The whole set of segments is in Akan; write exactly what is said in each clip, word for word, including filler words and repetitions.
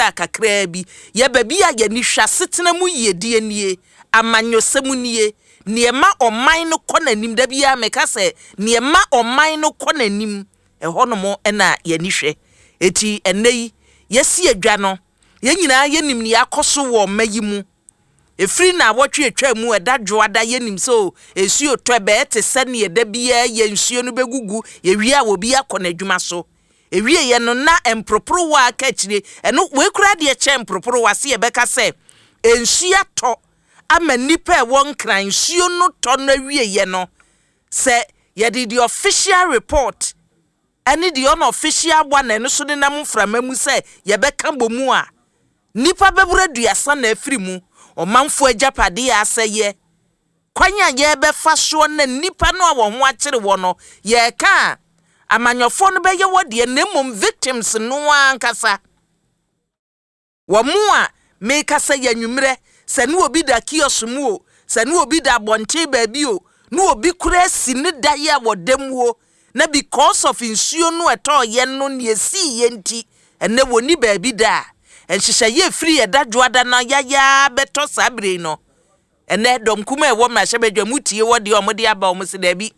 style kakraa bi. Yɛ baabi a yɛni hwɛ asetena mu yiedie nie, amanyɔsɛm nie, nneɛma ɔman no kɔ n'anim. Da biara meka sɛ nneɛma ɔman no kɔ n'anim, ɛhɔnom ɛna yɛni hwɛ. Eti ɛnɛ yi yɛsi adwa no, yɛn nyinaa yɛnim nea akɔ so wɔ ɔma yi mu. Efiri na awɔtwe atwa mu ɛda Dwoada, yɛnim sɛ o nsuo tɔ, ɛbɛyɛ te sɛ neɛ da biara yɛ nsuo no bɛgugu. Yɛwie a, obi akɔ n'adwuma so. Ewie yɛ no na mproporowa aka akyire. Ɛno wei koraa deɛ kyɛn mproporowa se yɛbɛka sɛ nsuo atɔ ama nnipa a ɛwɔ Nkran. Nsuo no tɔ no awie yɛ no, sɛ yɛde the official report ɛne the unofficial one ɛno so nenam mframa mu sɛ yɛbɛka bɔ mu a, nnipa bɛboro aduasa na afiri mu. Ɔmanfoɔ agyapadeɛ a asɛyɛ, kwan a yɛbɛfa soɔ na nnipa no a wɔn ho akyere wɔ no, yɛreka a amanyɔfoɔ no bɛyɛ wɔ deɛ, na mmom victims no ankasa wɔn mu a meka sɛ yɛ anwummerɛ sɛ ne obi da kiosk mu o, sɛ ne obi da abɔnten baabi o, ne obi kura si ne da yi a wɔda mu o, na because of nsuo no ɛtɔɔyɛ no nea esii yɛ nti ɛnɛ wɔni baabi da a nhyehyɛeɛ efiri yɛ da Dwoada na yayaa bɛtɔ saa bere no. Ɛnɛ dɔm kuma a ɛwɔ mmarahyɛbadwa mu tie wɔ deɛ ɔmo de aba. Ɔmo si daabi,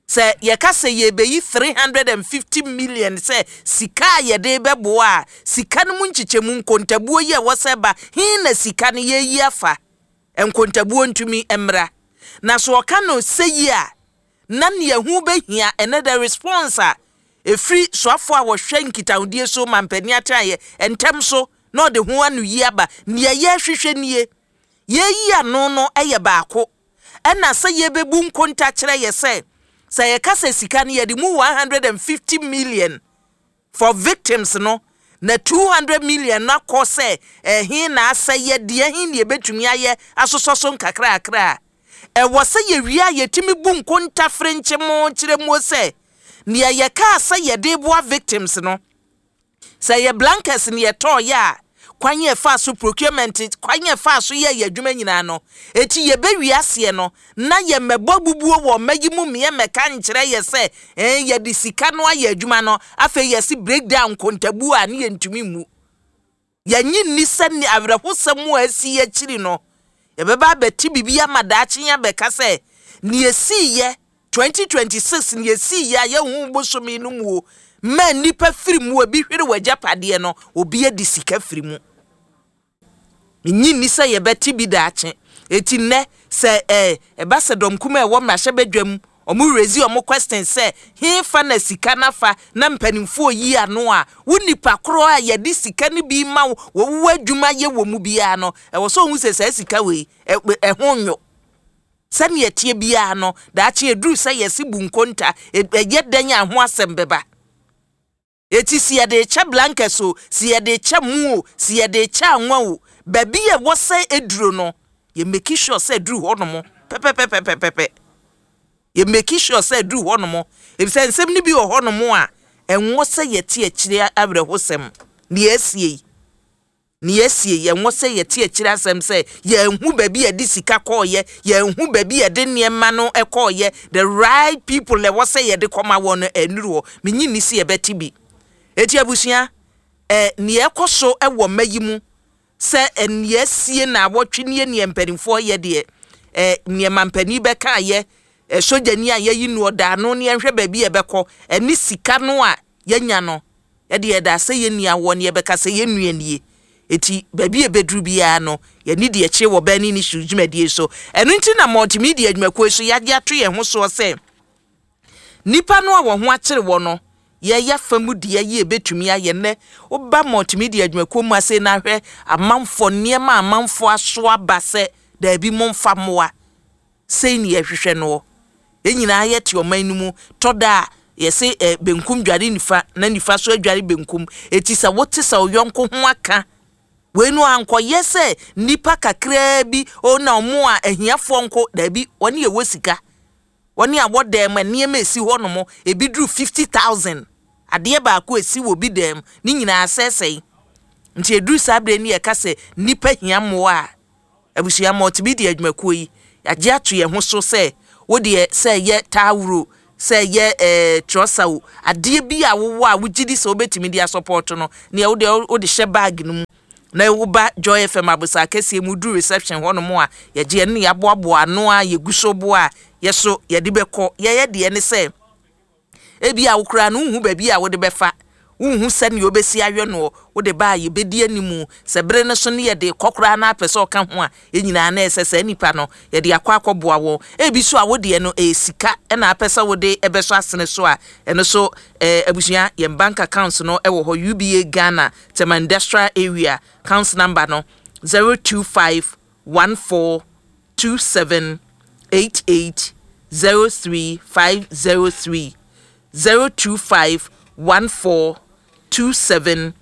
sɛ yɛka sɛ yɛbɛyi three hundred and fifty million sɛ sika a yɛde bɛboa a, sika no mu nkyekyɛmu nkontabuo yi a ɛwɔ sɛ ba hin na sika no yɛyi afa nkontabuo ntumi mmra. Na so ɔka no sɛ yi a na nea ho bɛhia ɛnɛ, the response a ɛfiri soafoɔ a wɔhwɛ nkitahodie so ma mpanin atenaeɛ ntɛm so na ɔde ho ano yi aba. Nea yɛrehwehwɛ nie, yɛyi ano no yɛ baako, ɛna sɛ yɛbɛbu nkonta kyerɛ yɛ sɛ sɛ yɛka sɛ sika no yɛde mu one hundred and fifty million for victims no na two hundred million no akɔ sɛ ɛhe na asɛyɛ deɛ he ne yɛbɛtumi ayɛ asosɔ so nkakrakra a ɛwɔ sɛ yɛwie a yɛtumi bu nkonta ferenkyemo kyerɛ mu sɛ nea yɛkaa sɛ yɛde boa victims no, sɛ yɛ blankets ne yɛtɔɔyɛ a, kwan yɛ fa so procurement, kwan yɛ fa so yɛ yɛ adwuma nyinaa no, eti yɛbɛwie aseɛ no na yɛmmɛbɔ bubuo wɔ ɔma yi mu mmeɛ mmɛka nkyerɛ yɛ sɛ ɛn yɛde sika no ayɛ adwuma no. Afei yɛsi breakdown nkontabuo a ne yɛntumi mu yɛnyi nni sɛ ne awerɛhosɛm a asi akyiri no yɛbɛba abɛte biribi ama daakye abɛka sɛ nea esiiyɛ twenty twenty-six, nea esiiyɛ a yɛhu bosome no mu o mmaa nnipa firi mu, ebi hwere wɔ agyapadeɛ no, obi adi sika firi mu. Nyi nni sɛ yɛbɛte bi daakye. Eti nnɛ sɛ ɛɛ ɛba sɛ dɔm kuma a ɛwɔ mmarahyɛbadwam ɔmo raise ɔmo question sɛ hefa na sika nafa na mpanimfoɔ yi ano a, wo nipa korɔ a yɛde sika no bi ma wo wɔwɔ adwuma yɛ wɔ mu biara no, ɛwɔ sɛ ohun sɛ saa sika wei ɛho nyo. Sɛnea ɛteɛ biara no, daakye eduru sɛ yɛsi bu nkonta, ɛyɛ dɛn a ho asɛm bɛba. Eti si yɛde kyɛ blankets o, si yɛde kyɛ mu o, si yɛde kyɛ anwa o, baabi a ɛwɔ sɛ eduro no, yɛ make sure sɛ eduru hɔ nom pɛpɛpɛpɛpɛpɛ. Yɛ make sure sɛ eduru hɔ nom, efisɛ nsɛm no bi wɔ hɔ nom a ɛnwɔ sɛ yɛte akyire awerɛhosɛm. Nea esie yi, nea esie yi, ɛnwɔ sɛ yɛte akyire asɛm sɛ yɛnhu baabi yɛde sika kɔɔyɛ, yɛnhu baabi yɛde nneɛma no kɔɔyɛ, the right people ɛwɔ sɛ yɛde kɔma wɔn no ɛnuru hɔ. Menyi ni si yɛbɛte bi. Eti abusua, ɛ nea ɛkɔ so ɛwɔ mma yi mu sɛ nea esie na awɔtwe nie, nea mpanimfoɔ yɛ deɛ, ɛ nneɛma mpanin bɛka yɛ ɛ sogyani a yɛyi no ɔda ano ne yɛnhwɛ baabi yɛbɛkɔ ɛne sika no a yɛnya no, yɛde yɛda sɛ yɛn nua wɔ ne yɛbɛka sɛ yɛn nua nie. Eti baabi a ebeduru biara no, yɛne deɛ kyerɛ wɔ Burning Issues dwumadie so. Ɛno nti na multimedia dwumakuo so yɛagye ato yɛn ho soɔ sɛ nipa no a wɔn ho akyere wɔ no, yɛyɛ fa mu deɛ yi ebetumi ayɛ. Nnɛ woba multimedia dwumakuo mu ase na ahwɛ amanfoɔ nneɛma a amanfoɔ aso aba sɛ daabi, momfa mmoa sei ne yɛhwehwɛ no. Yɛn nyinaa yɛte ɔman no mu, tɔ da a yɛsɛ ɛ benkum dware nifa na nifa so adware benkum. Eti sɛ wote sɛ ɔyɔnko ho aka wei no, ankɔyɛ sɛ nipa kakraa bi o na ɔmo a ahiafoɔ nko. Daabi, wɔne yɛwɔ sika, wɔne a wɔ dan mu, nneɛma esi hɔ nom ebi duru fifty thousand, adeɛ baako esi wɔ bi dan mu ne nyinaa asɛesɛe. Nti eduru saa abere ni yɛka sɛ nipa hia mmoa a, abusua, multimedia adwumakuo yi yɛagye ato yɛn ho so sɛ wodeɛ sɛ ɛyɛ taawuro Sɛ ɛyɛ ɛɛ trɔsa o, adeɛ bi a wowɔ a wogye di sɛ wobɛtumi de asɔpɔto no, nea wode wode hyɛ bag no mu na woba Joy F M abosa kɛseɛ mu, duru reception hɔnom a, yɛgye ɛno ne yɛaboaboa ano a yɛgu so boa a yɛso yɛde bɛkɔ. Yɛyɛ deɛ ne sɛ ebi a wokura no, wohu baabi a wode bɛfa, wohu sɛnea wobɛsi ayɛ no, wode ba a, yɛbɛdi animu. Sɛ bere no so ne yɛde kɔ koraa na apɛ sɛ ɔka ho a, yɛn nyinaa na ɛsɛ sɛ nipa no yɛde akɔ akɔboa wɔn. Ebi so a wodeɛ no ɛyɛ sika ɛna apɛ sɛ wode ɛbɛsɔ asene so a, ɛno so ɛɛ abusua, yɛn bank accounts no ɛwɔ hɔ: U B A Ghana, Tema Industrial Area, account number no zero two five one four two seven eight eight zero three five zero three, zero two five one four two seven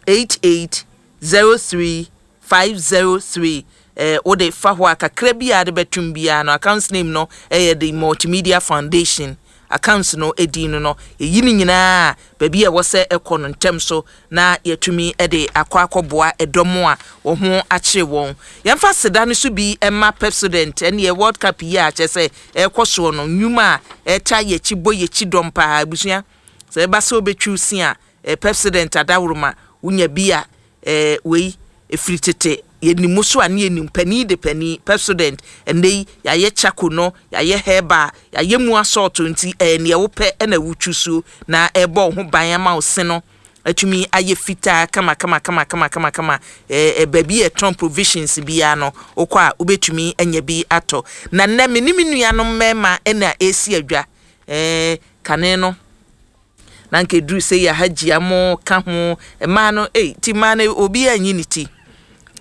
eight eight zero three five zero three. Ɛɛ wode fa hɔ a, kakra bi a de bɛtum biara no, account name no ɛyɛ the Multimedia Foundation. Accounts no edin no no yɛyi ne nyinaa baabi a ɛwɔ sɛ ɛkɔ no ntɛm so na yɛtumi de akɔ akɔboa ɛdɔm a wɔn ho akyere wɔn. Yɛmfa seda no so bi ɛma Pepsodent. Ɛne World Cup yi a kyerɛ sɛ ɛrekɔ soɔ no, nnwuma a ɛta yɛkyi bɔ yɛkyi dɔm paa. Abusua, sɛ ɛba sɛ wobɛtwiw si a, ɛɛ Pepsodent adaworoma wonya bi a, ɛɛ wei efiri tete yɛnim so a, ne yɛnim panin de panin Pepsodent. Ɛnɛ yi yɛayɛ charcoal no, yɛayɛ herbal, yɛayɛ mu asɔɔto, nti ɛyɛ nea wopɛ ɛna wotwi so na ɛbɔ wo ho ban ama wo se no atumi ayɛ fitaa kama kama kama kama kama kama. ɛɛ baabi yɛ tɔn provisions biara no, wokɔ a wobɛtumi anya bi atɔ. Na nnɛ me ne me nuanom mmarima ɛna esi adwa. ɛɛ kane no na nka eduru sɛ yɛ Hagyia mo ka ho mmaa no, ei, ti mmaa no obi anyi ne ti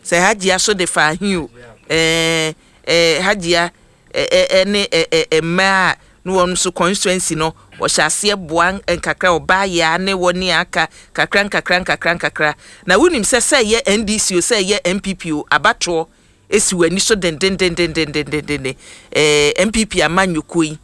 sɛ Hagyia so de fa ahi o. ɛɛ ɛɛ Hagyia ɛɛ ɛne ɛɛ mmaa a ne wɔn nso constituency no wɔhyɛ aseɛ boa nkakra, ɔbaa yaa ne wɔ ne aka kakra nkakra nkakra nkakra. Na wonim sɛ sɛ ɛyɛ N D C o, sɛ ɛyɛ N P P o, abatoɔ esi wɔ ani so dendendendendendenden. ɛɛ N P P amanyɔkuo yi,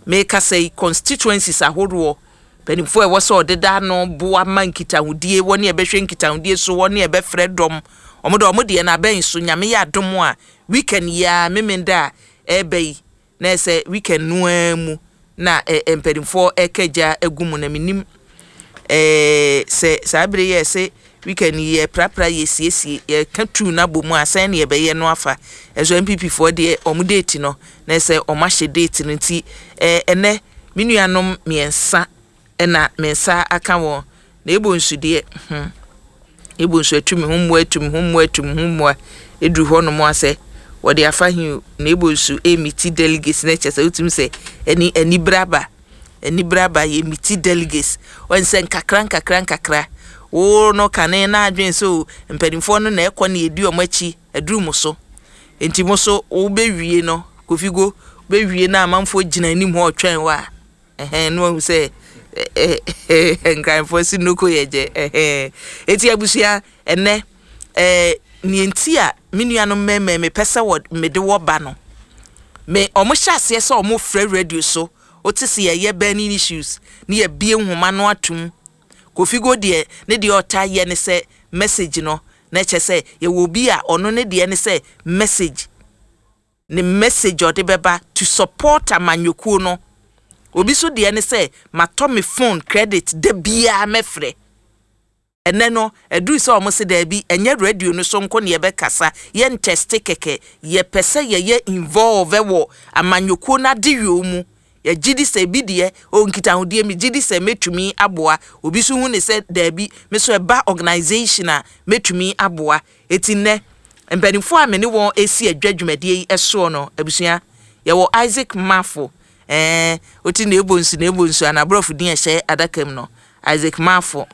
mekasa yi, constituencies ahodoɔ mpanimfoɔ a ɛwɔ sɛ ɔdeda ano boa ma nkitahodie wɔ ne ɛbɛhwɛ nkitahodie so wɔ ne ɛbɛfrɛ dɔm, ɔmo de ɔmo deɛ no abɛn so. Nyame yɛ adom a, weekend yi a Memenda a ɛɛba yi na ɛsɛ weekend no ara mu na ɛ mpanimfoɔ ɛka gya agu mu. Na menim ɛɛ sɛ saa bere yɛ sɛ weekend yi yɛ prapra, yɛ siesie, yɛka tu no abɔ mu a, sɛn ne yɛbɛyɛ no afa ɛso. N P P foɔ deɛ, ɔmo date no na ɛsɛ ɔmo ahyɛ date no, nti ɛɛ ɛnɛ me nuanom mmiɛnsa ɛna me nsa aka wɔn. Na ebo nsu deɛ, hmm ebo nsu atu me ho mmoa, atu me ho mmoa, atu me ho mmoa, eduru hɔnom asɛ wɔde afa hin o. Na ebo nsu emiti delegates na kyerɛ sɛ wotumi sɛ ɛni anibere aba, anibere aba. Yɛ miti delegates wɔn sɛ nkakra nkakra nkakra wo no kane na adwene so mpanimfoɔ no na ɛkɔ na yɛdi wɔn akyi aduru mo so, nti mo so wobɛwie no, Kofigo bɛwie na amanfoɔ gyina anim hɔ ɔtwɛn hɔ a, ɛhɛn no wahu sɛ Nkranfoɔ si nnoko yɛ gyɛ. Ɛhɛn, eti abusua, ɛnɛ ɛɛ nea nti a me nuanom mmarima mepɛ sɛ wɔ mede wɔ ba no, me ɔmo hyɛ aseɛ sɛ ɔmo frɛ radio so, wote sɛ yɛyɛ burning issues ne yɛbie nhoma no atum. Kofigo deɛ, ne deɛ ɔta yɛ ne sɛ message no, na ɛkyɛ sɛ yɛwɔ obi a ɔno ne deɛ ne sɛ message, ne message ɔde bɛba to support amanyɔkuo no. Obi so deɛ ne sɛ matɔ me phone credit da biara mɛfrɛ. Ɛnɛ no ɛduru sɛ ɔmo se daabi, ɛnyɛ radio no so nko ne yɛbɛkasa, yɛn tɛste kɛkɛ, yɛpɛ sɛ yɛyɛ involve wɔ amanyɔkuo no adeyɔ mu. Yɛgye di sɛ ebi deɛ o nkitahodie mi gye di sɛ mɛtumi aboa. Obi so hu ne sɛ daabi, me so ɛba organisation a mɛtumi aboa. Eti nnɛ mpanimfoɔ a me ne wɔn esi adwa dwumadie yi soɔ no, abusua, yɛwɔ Isaac Mafo. Ɛɛ oti na ebo nsu na ebo nsu anaborɔfo din ɛhyɛ adaka mu no, Isaac Mafo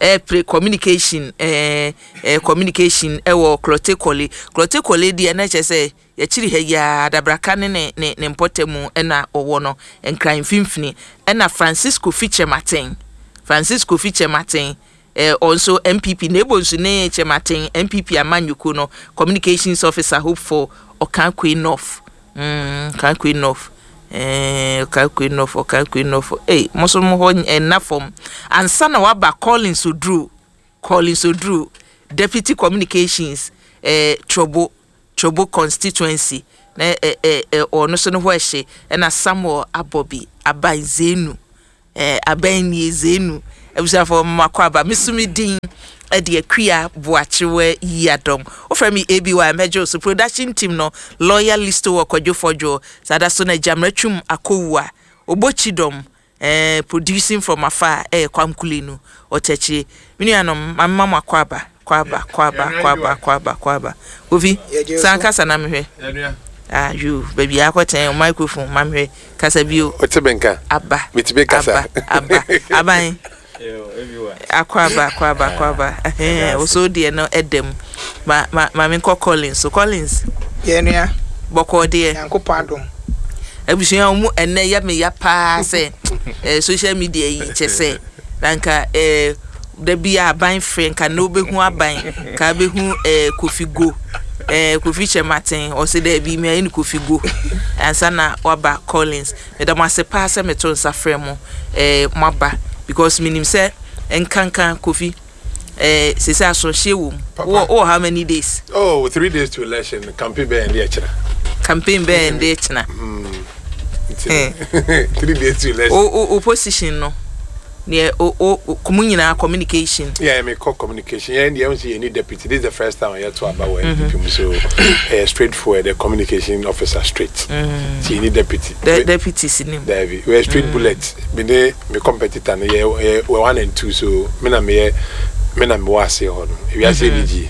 ɛpere communication, ɛɛ ɛɛ communication ɛwɔ Klottey Korle. Klottey Korle deɛ, na kyerɛ sɛ yɛkyiri ha yi ara, Adabraka ne ne ne ne mpɔtamu ɛna ɔwɔ no, Nkran mfimfini. Ɛna Francis Kofi Kyerematen, Francis Kofi Kyerematen, ɛɛ ɔnso N P P na ebo nsu ne Kyerematen, N P P amanyɔkuo no communications officer hopeful Okaikwei North. mm Okaikwei North, ɛɛ Okaikwei North, Okaikwei North, ee mo nso mo hɔ ɛnna fam. Ansa na waba Collins Oduro, Collins Oduro, deputy communications, ɛɛ Trobu, Trobu constituency. Na ɛ ɛ ɛ ɔno so no hɔ ɛhye. Ɛna Samuel Abɔbi Aban Zenu, ɛɛ aban nie Zenu. Abusuafo, mmakɔ aba. Mesumi din ɛde Akua Boakyewa Yi Adɔm. Wofrɛ me A B Y, mɛgye so. Production team no, lawyer Listo wɔ Kwadwo Fɔdwo saa da so na Gyamratwum Akɔwu a Obɔkyi dɔm, eh, producing from afar, ɛyɛ Kwamkule no ɔkyɛkyerɛ. Me nuanom, mamema mo akɔ aba, kɔ aba, kɔ aba, kɔ aba, kɔ aba, kɔ aba. Kofi, san kasa na mehwɛ. Ah, yo, baabi akɔtɛn microphone ma mehwɛ. Kasa bio. Wote me nka? Aba. Metumi kasa. Aba, aba, aban akɔ aba, akɔ aba, akɔ aba. Ɛhɛn, woso deɛ no ɛdɛm ma ma ma menkɔ Collins so. Collins. Yɛn nua. Bɔkɔɔ deɛ? Nyankopɔn adom. Abusua mu, ɛnɛ yɛ me ya paa sɛ ɛɛ social media yi kyɛ sɛ na nka ɛɛ dabi a aban frɛ nka na wobɛhu aban ka wobɛhu ɛɛ Kofi Go, ɛɛ Kofi Kyɛmaten ɔsɛ dɛbi mi ayɛ no Kofi Go ansa na waba. Collins, meda mo ase paa sɛ meto nsa frɛ mo, ɛɛ mo aba, because menim sɛ nkanka Kofi, ɛɛ sese asɔhyɛ wɔ mu. Wɔ wɔ how many days? Oh, three days to election. Campaign bɛyɛ ndé ɛkyerɛ. Campaign bɛyɛ ndé kyena. Three days to election. O o o position no neɛ o o kumu nyinaa communication. Yeah, me call communication. Yeah, the M C any deputy. This is the first time I had to about N P P mu, so uh, straightforward, the communication officer straight. Mm. See, any deputy. De deputy sinim. There we we're straight mm. bullet. Me ne me competitor no, yeah, yeah, we're one and two, so me na me me na me wa ase hɔ no. We are saying G.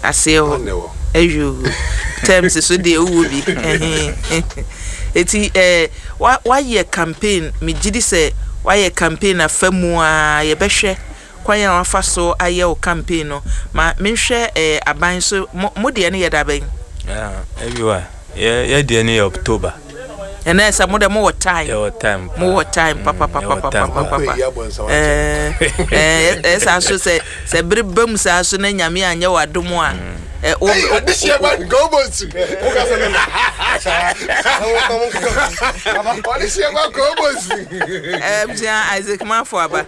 Ase hɔ. No. Eyo. Terms so de ewu bi. Eti eh wa wayɛ campaign, me gidi sɛ wayɛ campaign afa mu a yɛbɛhwɛ kwan a wafa so ayɛ wo campaign no. Ma menhwɛ eh, aban so, mo mo deɛ no yɛ da bɛn? Ebiwa, yɛ yɛ deɛ no yɛ October. Ɛnɛ sɛ mo dɛ mowɔ time. Yɛwɔ time. Mowɔ time papapapapapapa. Ɛɛ ɛɛ so sɛ sɛ bere ba mu saa so na Nyame anyɛ wɔ adom a ɛ wo Hey, this year man, go bosu. This year man, go bosu. Ɛɛ bia Isaac Mafo aba.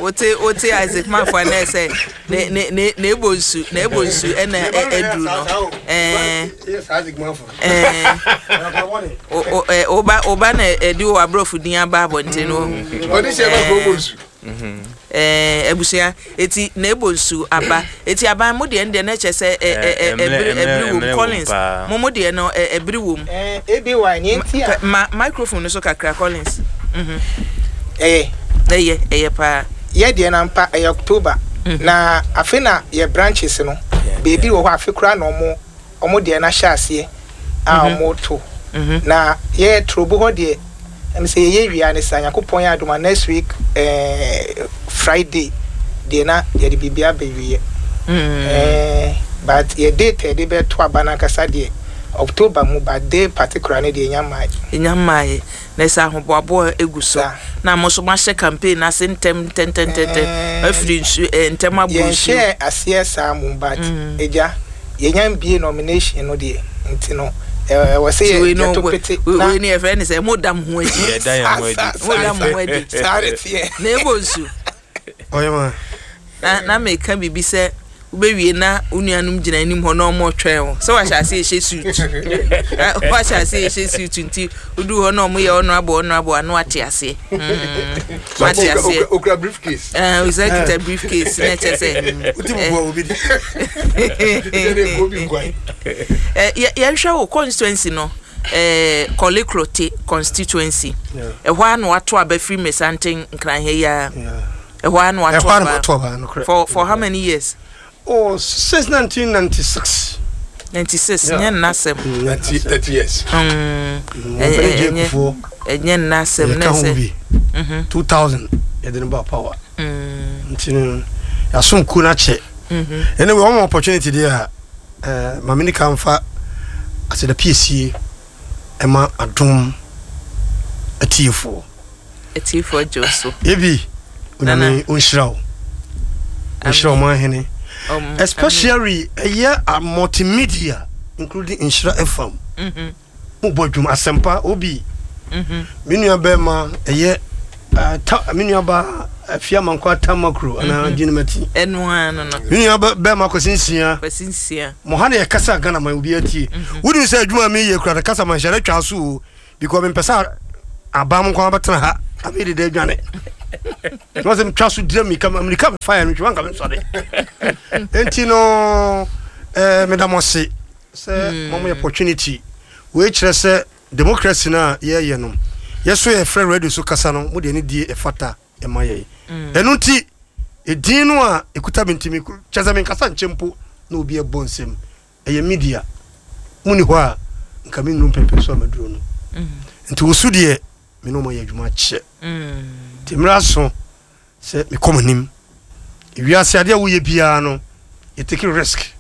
Wote wote Isaac Mafo anɛ sɛ ne ne ne na ebo nsu, na ebo nsu ɛna ɛduru no ɛɛ ɛɛ o o ɛ oba oba na ɛdi wɔ aborɔfo din aba abɔnten no. This year man, go bosu. Ɛɛ abusua, eti na ebo nsu aba. Eti aban, mo deɛ no deɛ n'ɛkyɛ sɛ ɛ ɛ ɛ ɛbiri ɛbiri wom. Collins, mo mo deɛ no, ɛ ɛbiri wom. Ɛɛ A B Y ní ti a. Ma microphone no so kakra, Collins. Mhm. Ɛyɛ. Ɛyɛ ɛyɛ paa. Yɛ deɛ na mpa ɛyɛ October. Na afe na yɛ branches no beebi wɔ hɔ, afe koraa na ɔmo ɔmo deɛ na hyɛ aseɛ a ɔmo to. Na yɛ Trobu hɔ deɛ, ɛm sɛ yɛyɛ wia ne sa Nyankopɔn yɛ adom a, next week ɛɛ Friday deɛ na yɛde biribi abɛwie. ɛɛ but yɛ date a yɛde bɛto aba n'ankasa deɛ, October mu, but day particular ne deɛ, nya mmaa. Nya mmaa. Na sɛ ahoboaboa egu so Saa. na mo nso moahyɛ campaign ase ntɛm ntɛntɛntɛntɛm afiri nsu ɛ ntɛm abɔ nsuo. Yɛnhyɛ aseɛ saa mu, but egya yɛnya mbie nomination no deɛ, nti no ɛwɔ ɛwɔ sɛ Nti wei yɛ no yɛto we- pete. we- wei no yɛfrɛ ne sɛ moda mo ho adi. Yɛda yɛn ho adi. Moda mo ho adi. Saa de teɛ. Na ɛbɔ nsu. Ɔyɛ ma. na na meka biribi sɛ wobɛwie na wo nuanom gyina anim hɔ na ɔmo twɛn wo sɛ wahyɛ ase ɛhyɛ suit. Na wahyɛ ase ɛhyɛ suit, nti woduu hɔ na ɔmo yɛ honorable, honorable ano ate aseɛ. Mm, wate aseɛ. Okura briefcase. Eh, osɛ kita briefcase na ɛkyɛ sɛ Wote bubua obi di. Ɛna eko bi nkwan. Eh, yɛ- yɛnhwɛ wo constituency no, eh, Korle Klottey constituency. Yeah. Ɛhɔ a na wato aba firi Mesanten Nkranha yi a. Yeah. Ɛhɔ a na wato Ɛhɔ a na aba. mato aba nokorɛ. for for how many years? Oh, since nineteen ninety-six. ninety-six. Yeah. Nyɛ nnasɛm. Thirty thirty years. Mm, Wɔmfɛne gye ɛnyɛ- Kufuor. Ɛnyɛ nnasɛm na Yɛka ho sɛ bi. two thousand yɛde no ba power. Mm, Nti no yɛasom kuo no akyɛ. mhm. Anyway, wɔn opportunity deɛ a, eh, maame ni ka mfa aseda piesie ɛma Adom atiefoɔ. Atiefoɔ gye wo so. Ebi Onyame ɔnhyira wo, ɔnhyira ɔman hene, Um, especially ɛyɛ a multimedia, including Nhyira F M. Mhm, Mobɔ adwuma asɛmpa obi. mhm. Me nua bɛrima ɛyɛ eh, ta, me nua ba Afia Mankɔ Atamakuro anaa Gyinamati. Ɛno ara no no. Me nua bɛ- bɛrima Kwasi Nsia. Kwasi Nsia. Mo ha ne yɛkasa Ghana ma obi atie. Wonim sɛ adwuma a meyɛ kura no kasa ma nhyɛre twa so o, because mempɛ sɛ abaa mo nkwa bɛtena ha amede da adwane na sɛ metwa so dira mirika mirika mefa yɛ no ntwema nka mensɔre. Enti no eh, meda mo ase sɛ mo yɛ opportunity wei kyerɛ sɛ democracy no a yɛyɛ no, yɛso yɛfrɛ radio so kasa no, mode ani die ɛfata ɛma yɛn. Ɛno nti ɛdin no a ɛkuta me ntimi kyɛ sɛ menkasa nkyɛ mpo na obi ɛbɔ nsɛm ɛyɛ media muni hɔ a nka mennuru mpɛmpɛ so a maduro no. Nti wo so deɛ, me ne ɔma yɛ adwuma kyɛ, nti mmerɛ aso sɛ mekɔ m'anim. Ewiase adeɛ a woyɛ biara no, yɛ take risk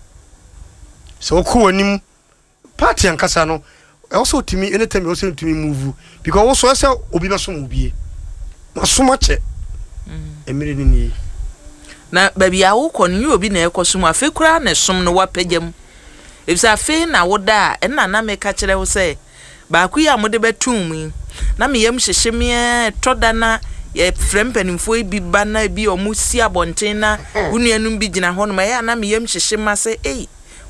sɛ wokɔ w'anim. Party ankasa no, ɛwɔ sɛ wotumi anytime, ɛwɔ sɛ wotumi move because wo so ɛsɛ obi bɛsom wo bie masom akyɛ mmerɛ no nie. Na baabi a wokɔ no, nyɛ obi na ɛkɔ som. Afei koraa na ɛsom no wapagya mu, efisɛ afei na woda a ɛnna na meka kyerɛ wo sɛ baako yi a mode bɛtum mu yi na meyam hyehye me. Ɛtɔ da na yɛfrɛ mpanimfoɔ yi bi ba na bi a ɔmo si abɔnten na wo nuanom bi gyina hɔnom, ɛyɛ a na meyam hyehye ma sɛ ei,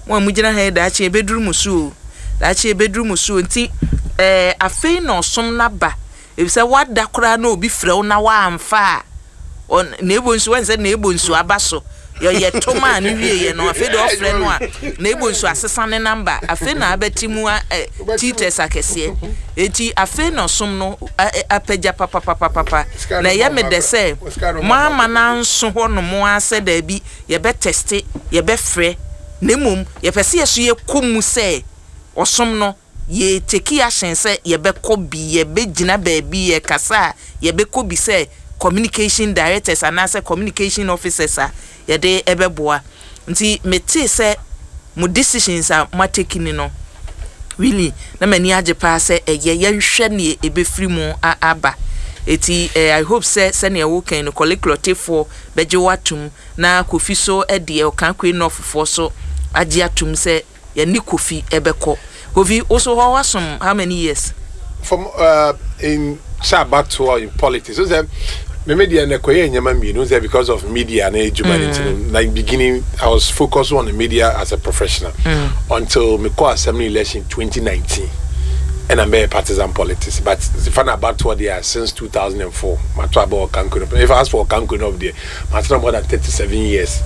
mo a mogyina ha yi, daakye yɛbɛduru mo so o, daakye yɛbɛduru mo so o. Nti ɛɛ afei na ɔsom n'aba, efisɛ wada koraa na obi frɛ wo na waamfa a ɔn na ebo nso wɔn sɛ na ebo nso aba so yɛyɛ toma a ne wie yɛ no. Afei de ɔfrɛ no a na ebo nso asesa ne number. Afei na abɛti mu a ɛ teachers akɛseɛ. Eti afei na ɔsom no ɛ ɛ apagya papapapapa na ɛyɛ me dɛ sɛ mo ama nanso hɔ nom a sɛ daabi, yɛbɛ test, yɛbɛfrɛ, na mmom yɛpɛ sɛ yɛso yɛkɔ mu sɛ ɔsom no yɛ take action sɛ yɛbɛkɔ bi, yɛbɛgyina baabi yɛkasa a yɛbɛkɔ bi sɛ communication directors anaasɛ communication officers a yɛde ɛbɛboa. Nti metee sɛ mo decisions a moa take ni no, really na m'ani agye paa sɛ ɛyɛ yɛnhwɛ neɛ ɛbɛfiri mu a- aba. Eti eh, I hope sɛ sɛnea wokan no, Korle Klotteyfoɔ bɛgye wo atom na Kofi so ɛdeɛ Okaikwei Northfoɔ so agye atom sɛ yɛne Kofi ɛbɛkɔ. Kofi, wo so hɔ wasom how many years? From uh, in sɛ abatoɔ in politics so sɛ me media na ɛkɔyɛ nneɛma mmienu sɛ because of media na edwuma ne nti no, like beginning I was focused on the media as a professional mm. until me kɔ assembly election twenty nineteen, ɛna mbɛyɛ partisan politics. But fa na abatoɔ deɛ, since two thousand and four mato aba Okaikwei North. If I ask for Okaikwei North deɛ, matena more than thirty-seven years.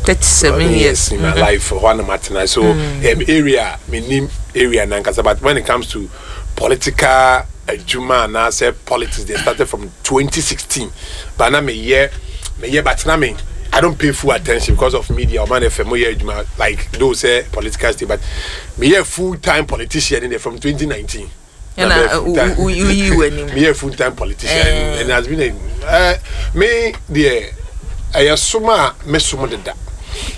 thirty-seven years. In my mm -hmm. life hɔ na matena so mm. um, area menim area nankasa. But when it comes to political adwuma anaasɛ politics, they started from twenty sixteen, but na meyɛ meyɛ but na me I don't pay full attention because of media. Ɔman F M mo yɛ adwuma like those say political state, but meyɛ full time politician in there from twenty nineteen. Ɛna woyi w'anim. Meyɛ full time politician and it has been a uh, me deɛ, ɛyɛ som a me som deda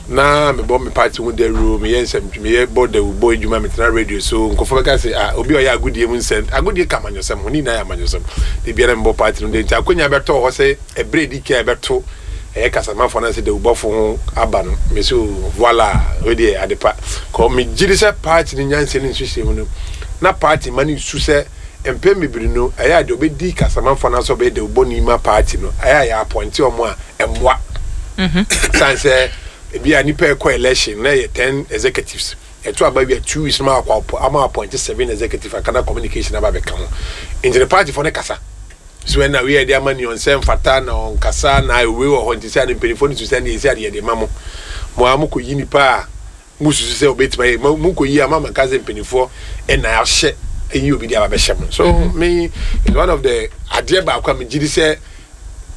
na mebɔ me party ho dawuro, meyɛ nsɛm, meyɛ bɔ dawubɔ adwuma, metena radio so nkɔfoɔ bɛka sɛ ah, obi a ɔyɛ agodie mu nsɛm, agodie ka amanyɔsɛm ho ne nyinaa yɛ amanyɔsɛm de biara mebɔ party no de. Nti akonnwa bɛtɔ hɔ sɛ ɛberɛ di ka ɛbɛto ɛyɛ kasamafoɔ no sɛ dawubɔfo ho aba no, me so voila, wei deɛ adepa kɔ. Megye di sɛ party no nyansa ne nsuhyɛ mu no na party ma no nsu sɛ mpɛn bebree no ɛyɛ ade ɔbɛdi kasamafoɔ no sɛ ɔbɛyɛ dawubɔni ma party no, ɛyɛ a yɛ appoint ɔmo a ɛmmoa san sɛ ebi a nipa ɛkɔ election na yɛ ten executives, ɛto aba wi a two weeks ma akɔ ama appoint seven executive akana communication aba bɛka ho. Nti ne party fo ne kasa so ɛna wei yɛde ama ne ɔnsɛ mfata na ɔnkasa na ewe wɔ hɔ. Nti sɛ ade mpanyinfoɔ no su sɛ ne yɛsi ade yɛde ma mo mo a mo kɔ yi nipa a mo susu sɛ obetuma yɛ mo mo kɔ yi ama ma nka sɛ mpanyinfoɔ ɛna ahyɛ eyi obi de aba bɛhyɛ mo so. Me is one of the adeɛ baako a me gyi di sɛ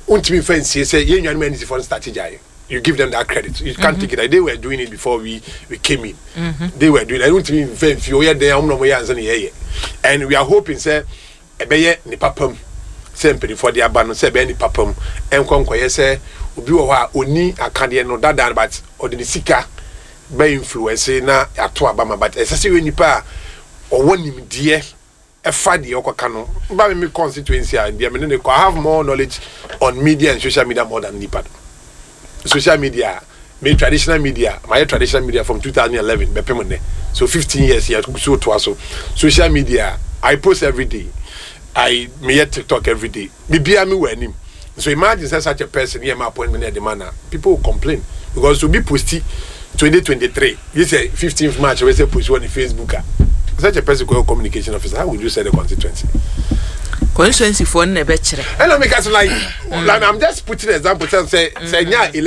ntumi nfa nsie sɛ yɛn nuanom N D C foɔ no start gyae. You give them that credit, you can't mm -hmm. take it. They were doing it before we we came in mm -hmm. They were doing it. Ntumi nfa nfi oyɛ den ɔmo na ɔmo yɛ ansa na yɛyɛ, and we are hoping sɛ ɛbɛyɛ nipa pam sɛ mpanyinfoɔ de aba no sɛ ɛbɛyɛ nipa pam ɛnkɔ nkɔyɛ sɛ obi wɔ hɔ a oni akadeɛ no dada but ɔde ne sika bɛ influence na ato aba ma. But ɛsɛ sɛ yɛ nipa a ɔwɔ nimdeɛ ɛfa deɛ ɔkɔka no ba mi mi constituency a deɛ mi ne ne kɔ. I have more knowledge on media and social media more than nipa no. Social media, me traditional media, my traditional media from twenty eleven bɛpem nnɛ, so fifteen years yɛ so toa so. Social media, I post every day, I meyɛ TikTok every day, bibia mi wɔ anim. So imagine say such a person yɛ ma appointment yɛ de ma na people will complain because to be posti twenty twenty-three, you say fifteenth March wey say post on Facebook ah, such a person called communication officer, how would you say the constituency? Constituency foɔ no na ɛbɛkyerɛ. Ɛna mi ka so like like I'm just putting example, say say say nya election.